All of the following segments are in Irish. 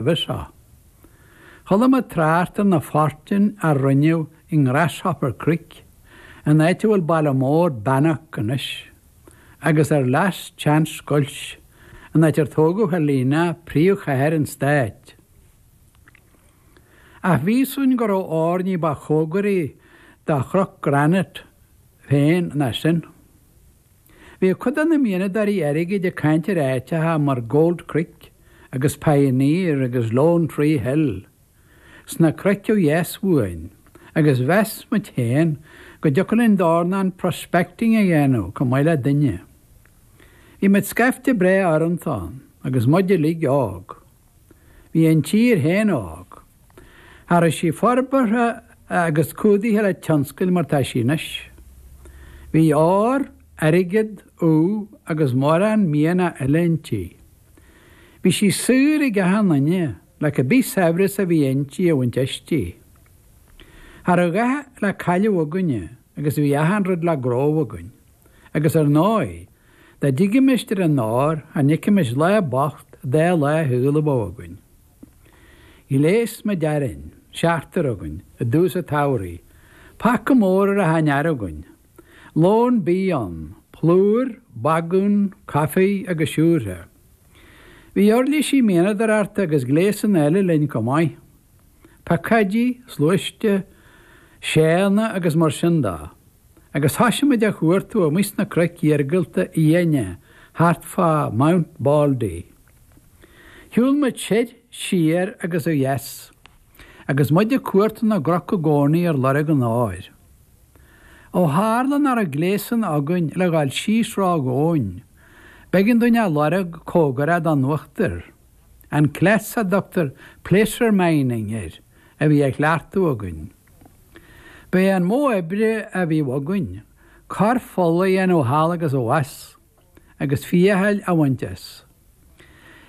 Roimhe seo, chuala muid trácht ar na fortúin a rinneadh i nGrasshopper Creek, an áit a bhfuil baile mór Bannack anois, agus ar Last Chance Gulch, an áit ar tógadh Helena, príomhchathair an stáit. Ach bhí 'fhios againn go raibh ór ní ba chóngaraí do Chnoc Granite féin ná sin. Bhíodh cuid de na mianadóirí airgid ag caint ar áiteacha mar Gold Creek agus Pioneer agus Lone Tree Hill sna cnoic ó dheas uainn agus mheas muid féin go dtiocfadh linn dornán prospecting a dhéanamh chomh maith le duine. Bhí muid scaifte breá urrúnta ann agus muid uilig óg. Bhí an tír féin óg. Cha raibh sí forbartha agus cumhdaithe le tionscail mar tá sí anois. Bhí ór, airgead, ubh agus mórán mianach eile inti. Bhí sí saor ag achan nduine le cibé saibhreas a bhí inti a bhaint aisti. Cha raibh a dhath le cailleadh againne agus bhí achan rud le gnóthú againn. Agus ar ndóigh, Dá dtigimis ar an ór, cha n'fheicfimis lá bocht dá lá shaol a bheadh againn. Ghléas muid orainn, seachtar againn, i dtús an tsamhraidh, paca mór ar achan fhear againn, lón bídh ann, plúr, bagún, caife agus siúrtha. Bhí uirlisí mianadóireachta agus gléasanna eile linn chomh maith, piocóidí, sluaiste, seánna agus mar sin de. Agus thoisigh muid á chuartú amuigh sna cnoic iargúlta fhiáine thart fá Mount Baldy. Shiúil muid soir, siar agus ó dheas, agus muid ag cuartú na gcnoc i gcónaí ar lorg an óir. Ó tharla nach raibh gléasanna againn le dhul síos ró-dhomhain, b'éigean dúinn a lorg cóngarach don uachtar. An cleas a dtugtar placer mining air a bhí á chleachtadh againn. Ba é an modh oibre a bhí againn, corrpholl a dhéanamh thall agus abhus, agus féacháil a bhaint as.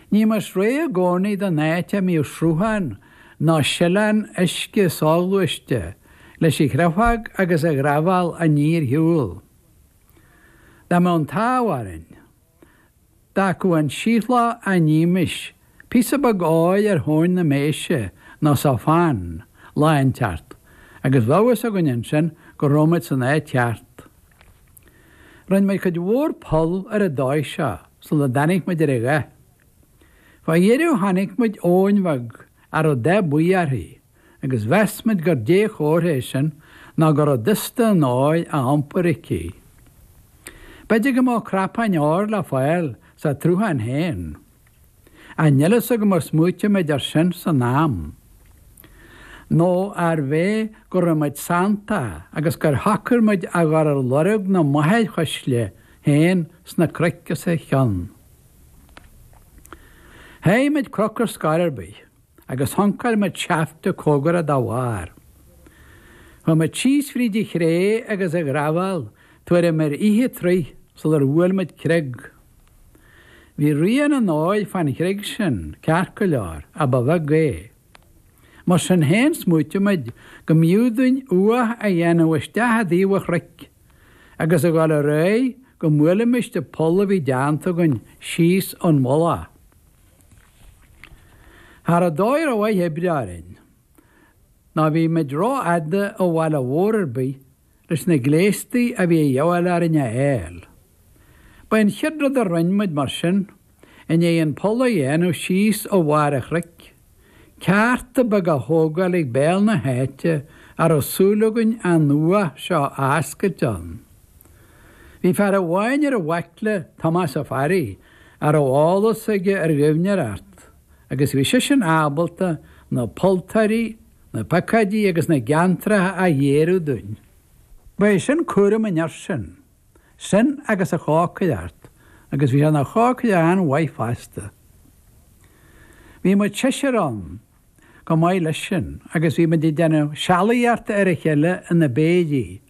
Ní bhímis réidh i gcónaí don áit a mbíodh sruthán nó sileán uisce soghluaiste leis a chreafadh agus a ghrábháil aniar shiúl. Dá mbeadh an t-ádh orainn. D'fhágfadh an siothlach a nímis píosa beag óir ar thóin na méise nó sa phan lá inteacht agus bheadh fhios againn ansin go raibh muid san áit cheart. Rinne muid cuid mhór poll ar an dóigh seo sula dtáinig muid ar a dhath. Fá dheireadh chonaic muid abhainn bheag a raibh dath buí uirthi. agus mheas muid gur dea-chomhartha é sin nó go raibh dusta an óir á iompar aici. B'fhéidir go mbeadh cnapáin óir le fáil sa tsruthán féin. Ach níl fhios agam ar smaoitigh muid air sin san am. Nó arbh é go raibh muid santach agus gur shocair muid a dhul ar lorg na máthairchuisle féin sna cnoic os a chionn. Sháigh muid cnoc ar scor ar bith. agus shuncáil muid seafta cóngarach dá bharr. Chuaigh muid síos fríd an chré agus an ghraibheal tuairim ar fhiche troigh sular bhuail muid creag. Bhí rian an óir fán chreag sin, ceart go leor, ach ba bheag é. Mar sin féin smaoitigh muid go mb'fhiú dúinn uath a dhéanamh isteach i dtaobh an chnoic agus a dhul ar aghaidh go mbuailfimis an poll a bhí déanta againn síos ón mhullach. Cha raibh dóigh rómhaith oibre orainn, ná bhí muid rófhada ó bhaile mhór ar bith leis na gléastaí a bhí a dhíobháil orainn a fháil. Ba é an chéad rud a rinn muid mar sin, i ndiaidh an poll a dhéanamh síos ó bharr an chnoic, ceárta beag a thógáil ag béal na háite a raibh súil againn an uath seo a oscailt ann. Bhí fear amháin ar an bhaicle, Tomás Ó Fearraigh, a raibh eolas aige ar ghaibhneoireacht agus bhí seisean ábalta na polltóirí, na piocóidí agus na geantracha a ghéarú dúinn. Ba é sin cúram an fhir sin, sin agus an chócaireacht, agus bhí sé ina chócaire an-mhaith fosta. Bhí muid seisear ann chomh maith leis sin agus bhí muid ag déanamh sealaíochta ar a chéile ina bpéirí,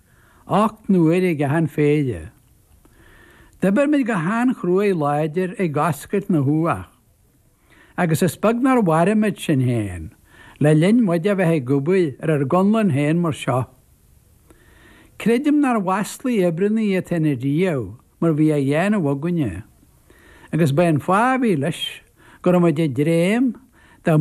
8 n-uaire ag achan phéire. D'oibir muid go han-chruaidh láidir ag oscailt na huathach, agus is beag nár mharaigh muid sinn féin le linn muid a bheith ag obair ar ár gconlán féin mar seo. Creidim nár mhaslaigh oibreanna iad féin ariamh mar bhí á dhéanamh againne, agus ba é an fáth a bhí leis go raibh muid ag dréim Dá.